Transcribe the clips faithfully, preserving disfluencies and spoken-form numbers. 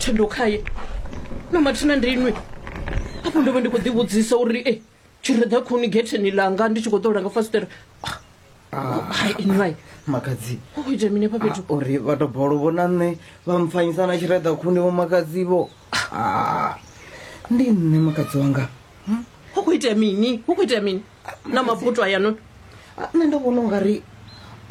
Thendo khaye na mathina ndi inwi afho ndo vha ndi khou ḓivhudzisa uri e tshireḓa khuni getheni langa ndi tshi khou ṱola nga fasiṱere. Hai inwi vai, Makhadzi, hu khou itea mini hafha fhethu? Uri vha to bolo vhona nṋe vha mpfanyisa na tshireḓa khuni vho makhadzi vho. Ah, ndi nṋe makhadzi wanga. Hu khou itea mini? Hu khou itea mini na mabuto ayanoni? Ah, nṋe ndo vhona ungari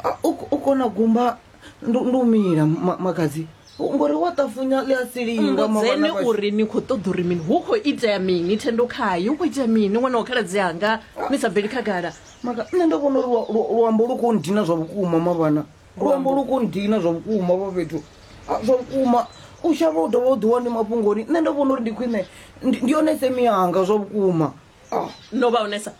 ah, u u kona gumba ndi ndi u mila ma- makhadzi ngori wa ṱafunya ḽi a silinga. Mbudzeni uri ni khou ṱoḓa uri mini. Hu khou itea mini, Thendo khaye? Hu khou itea mini, ṅwana wa khaladzi anga, ni sa bveli khagala? Maka, nṋe ndo vhona uri lua- lua- luambo lu khou ndina zwa vhukuma mavhana, luambo lu khou ndina zwa vhukuma vha fhethu. Ah, zwa vhukuma u shavha u dovha u ḓiwa ndi mafhungoni. Nṋe ndo vhona uri ndi khwine ndi ndi yone semi yanga zwa vhukuma. Ah, No vha onesa?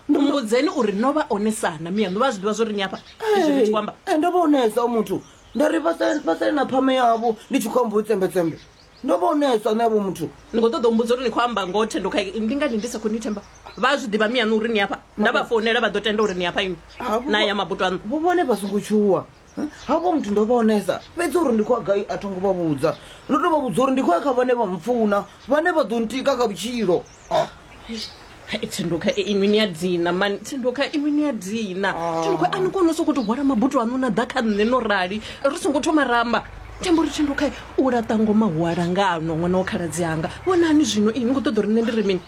Mbudzeni uri no vha onesana miyaṋu, vha zwi ḓivha zwo ri ni afha izwi ni tshi khou amba? Eh, ndo vha onesa muthu, nda ri vha sale vha sale na phame yavho, ndi tshi khou amba u tsembetsembe. Ndo vha onesa nṋe avho muthu. Ni khou ṱoḓa u mbudza uri ni khou amba ngoho, Thendo khaye? Ndi ngani ndi sa khou ni themba? Vha zwi ḓivha miyaṋu uri ni afha? Nda vha founela vha ḓo tenda uri ni afha inwi Ah, vho- na ya mabuto aṋu? Vho vhone vha songo tshuwa. Havho muthu ndo vha onesa, fhedzi uri ndi khou ya gai a tho ngo vha vhudza. Ndo to vha vhudza uri ndi khou ya kha vhane vha mpfuna, vhane vha ḓo ntika kha vhutshilo. Ah. Hai, Thendo kha inwi ni a dina mani. Thendo kha inwi ni a dina. Thendo kha, a ni koni u sokou tou hwala mabuto aṋu na ḓa kha nṋe no rali ri songo thoma ramba? Themba uri Thendo kha u laṱa ngoma hu alangano, ṅwana wa khaladzi anga. Vhonani zwino inwi ni khou ṱoḓa uri nṋe ndi ri mini?